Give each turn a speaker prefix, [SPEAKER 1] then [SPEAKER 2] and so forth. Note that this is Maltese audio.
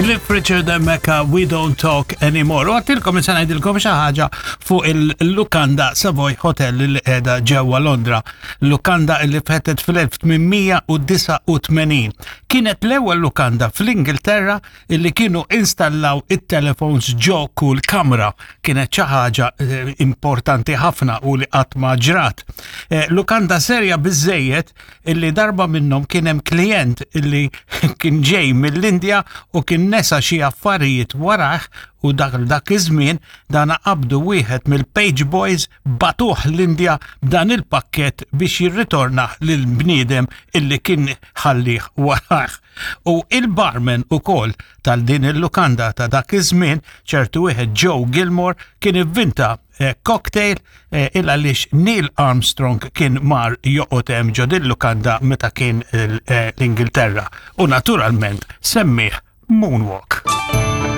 [SPEAKER 1] Cliff Richard and Mecca, We Don't Talk Anymore. U għattilkom issa ngħidilkom xi ħaġa fuq il-Lukanda Savoy Hotel li qiegħda ġewwa Londra. Lukanda li fettet fl-1889. Kienet l-ewwel lukanda fl-Ingilterra illi kienu installaw it-telefons ġo kull kamra. Kienet xi ħaġa eh, importanti ħafna u li qatt ma ġrat. Eh, lukanda serja biżejjed illi darba minnhom kien hemm klient illi kien ġej mill-Indja u kien nesa xi affarijiet warah u dak dak iż-żmien dana qabdu wieħed mill-page boys batuh l-Indja b'dan il-pakkett biex jirritorna lil bniedem illi kien ħallih warah. U il-barman ukoll tal din il-lukanda ta' dak iż-żmien ċertu wieħed Joe Gilmore kien ivvinta eh, cocktail eh, il għaliex Neil Armstrong kien mar joqgħod hemm ġo din lukanda meta kien eh, l-Ingilterra u naturalment semmih Moonwalk.